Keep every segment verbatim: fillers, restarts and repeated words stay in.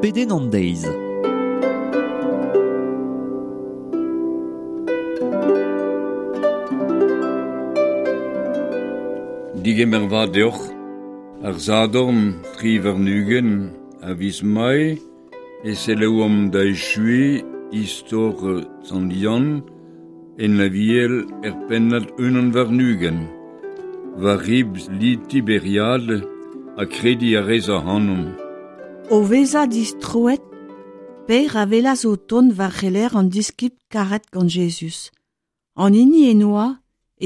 Pedenn an deiz. Digemer vat deoc'h, ar Sadorn tri warn-ugent a viz Mae e selaouomp da echuiñ istor Sant Yann en Aviel er pennad unan warn-ugent. War ribl li Tiberiad ha krediñ a rez ac'hanomp. O vezañ distroet, Per a welas o tont war c'heler an diskibl karet gant Jezuz. An hini en oa,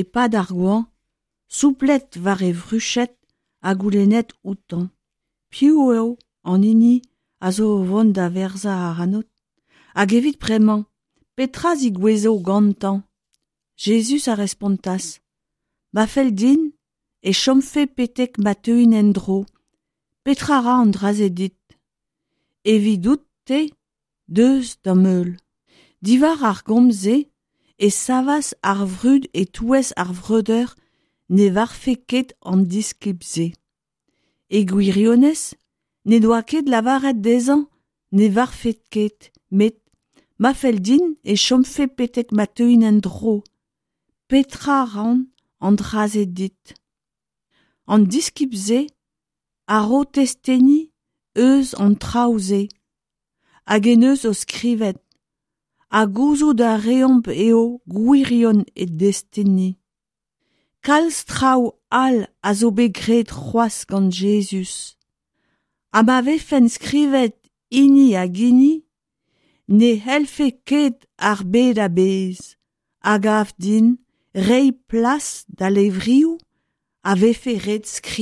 e-pad ar goan, souplet war e vruched ha goulennet outañ. Piv eo an hini a zo o vont da werzhañ ac'hanout? Hag evit bremañ, petra 'zigouezo gantañ? Jezuz a respontas. Ma fell din e chomfe betek ma teuin en-dro. Petra 'ra an dra-se dit? Evidout-te, deus d'am heul. Diwar ar gomz-se e savas ar vrud e-touez ar vreudeur ne varvfe ket an diskibl-se. E gwirionez, ne doa ket lavaret dezhañ ne varvfe ket, met ma fell din e chomfe betek ma teuin en-dro. Petra 'ran an dra-se dit? An diskibl-se a ro testeni eus an traoù-se hag en deus o skrivet, ha gouzout a reomp eo gwirion e desteni. Kalz traoù all a zo bet graet c'hoazh gant Jezuz. Ha ma vefent skrivet hini hag hini, ne c'hellfe ket ar bed a-bezh, a gav din, reiñ plas da levrioù a vefe ret skrivañ.